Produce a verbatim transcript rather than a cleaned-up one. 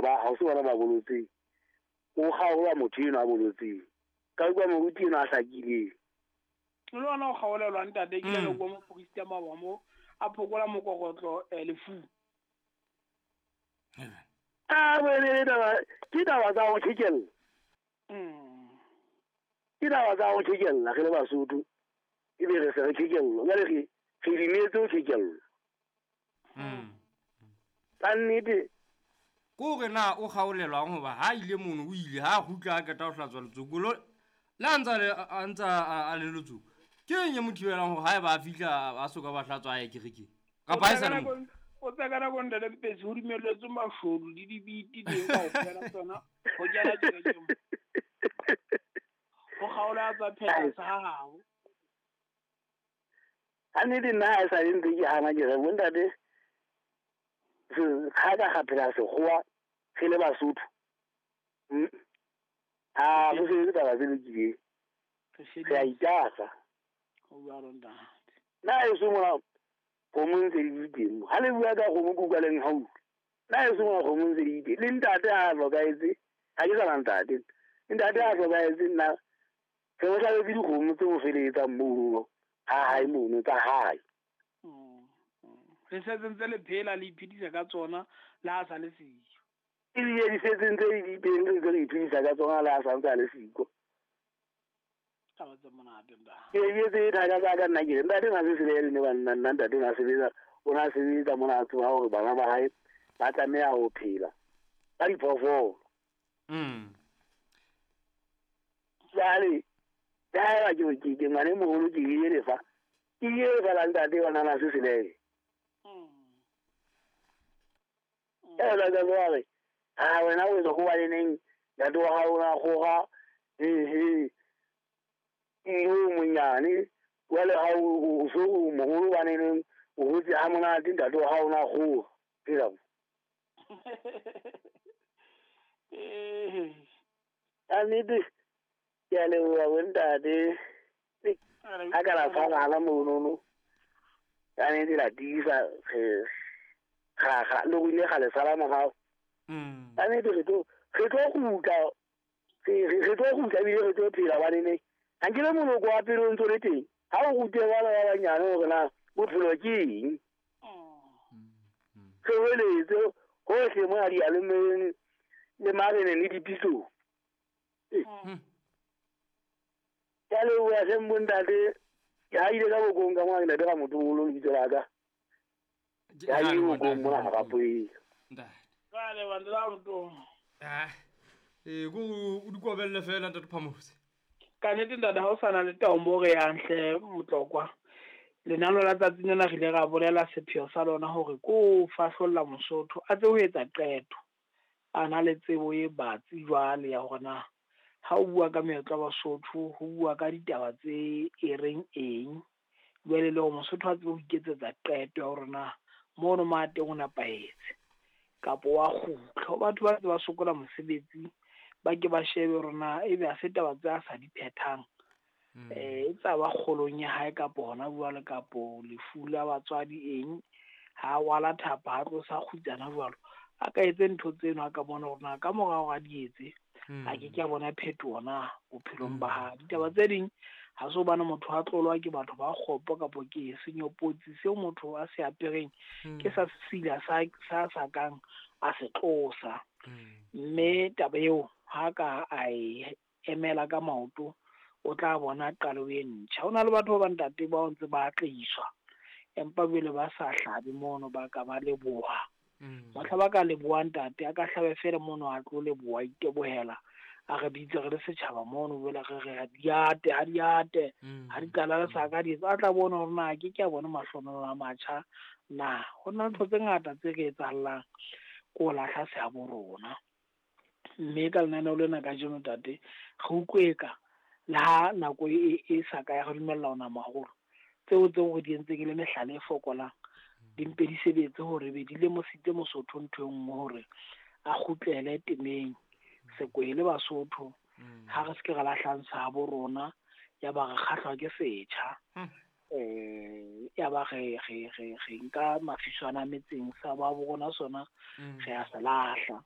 ha ba ha o se bona ba bolotseng o kgaola motho eno a bolotseng ka utlwa moruti eno a hlakileng le ona o kgaolelwa ntate ke le go mo moporista maba mo a phokola mokokotlo lefu a bone taba ke taba tsa ho thekella ke taba tsa ho thekella re le Basotho e be re se re thekella jwale re re dimetse ho thekella ka nnete ko re na o kgaolelwang hoba ha ile mono o ile ha kgutla a qeta ho hlatswa letsoku le a ntsa a ntsa a le letsoku ke eng e mo thibelang hore haeba a fihla a soka ba hlatswa a ye kerekeng kapa ha e sa le mo o tsaka nako ntate Mpetsi ho dumelletswe mashodu le dibiti teng kaofela tsona ho kena kerekeng ho kgaola tsa phetha sa hao ha nnete nna ha e sa le ntse ke hana ke re bontate ga ka ga phela sekgowa re le Basotho a bo se taba tse lokileng re a itasa nna e se mona kgomo ntse di teng ha le bua ka kgomo ke utlwa leng haufi nna e se mona kgomo ntse di teng le ntate a hlokahetse ha ke sa na ntate ntate a hlokahetse nna re mo hlabetse dikgomo tse mo felehetsang mono ha hae mono tsa hae re setse ntse le phela le iphedisa ka tsona le ha sa le siyo ebile di setse ntse di teng re ntse re iphedisa ka tsona le ha sa ntse a le siko taba tse monate ntate ke ebetse thaka tsa ka nna ke re ntate na se sebele ne banna nna ntate na sebetsa o na sebetsa mona a tseba hore bana ba hae ba tlameha ho phela ka diphoofolo jwale haeba ke ke ke ngwane moholo ke ile lefa ke ile lefa la ntate wa nana se selele e la ka jwale ha wena o etsa ho ba le neng ntate wa hao o na kgoga ehe o monyane jwale ha o so o moholo ba neng o hotse ha monate ntate wa hao o na kgoga phela ka nnete ke a leboha bontate ha ka la tshwarana monono ka nnete la tiisa ga ga le go ile ga le sala morao ka nnete re tlo re tlo kgutla re tlo kgutla ebile re tlo phela banene ha nkile moloko wa pele o ntso le teng ha o rute bana ba banyane hore na bophelo ke eng re weletse hohle mo a diyalemoyeng le mareneng le dipitsong ke a leboha hleng bontate ke haile ka bokong ka mona ke ntate Ramotoholo lebitso la ka ke haile bokong mona Harapoeng jwale bantu ba Ramotoholo ee ko o di kobelle fela ntate Phamotse ka nnete ntate ha o sa na le taombo re yang hle Motlokwa lenano la tsatsing lena re ile ra bolela sepheo sa lona hore ko fahlolla Mosotho a tse ho etsa qeto a na le tsebo e batsi jwale ya hore na ha o bua ka meetlo ya Basotho ho bua ka ditaba tse e reng eng jwale le hore Mosotho a tsebe ho iketsetsa qeto ya hore na mono mo a teng o nepahetse kapa wa kgutla ho batho ba ntse ba sokola mosebetsi ba ke ba shebe hore na ebe ha se taba tse a sa di phethang eh e tsa ba kgolong ya hae kapo hona jwale kapo lefu la batswadi eng ha wala thapa ha tlosa kgutsana jwalo a ka etse ntho tseno a ka bona hore na ka morao a di etse a ke ke a bona phetoho na bophelong ba hae ditaba tse ding ha se hobane motho a tlolwa ke batho ba kgopo kapo ke senyopotsi seo motho a se apereng ke sa sesila sa sa sa kang a se tlosa mme taba eo ha ka a e emela ka maoto o tla bona qalo e ntjha. Ho na le batho ba ntate ba ntse ba atlehiswa empa jwale ba sa hlabe mono ba ka ba leboha mohla ba ka leboha ntate a ka hlabe fela mono a tlo leboha itebohela a re bitse re le setjhaba mono jwale re re ha di ate ha di ate ha di qala le sa ka di a tla bona hore na ke ke a bona mahlonolo a matjha na ho na le ntho tse ngata tse re etsahallang ko lahla seabo rona mme ka lenaneo lena kajeno ntate re utlwe ka le ha nako e e sa ka ya re dumella ona maholo tseo tseo re di entseng e le mehlala e fokolang di mpe di sebetse hore be di lemositse Mosotho ntho e nngwe hore a kgutlele temeng sekwele Basotho ha re se ke ra lahlang sa bo rona ya ba re kgahlwa ke setjha eh ya ba re re re re nka mafiswana metseng sa ba bo rona sona re a se lahla.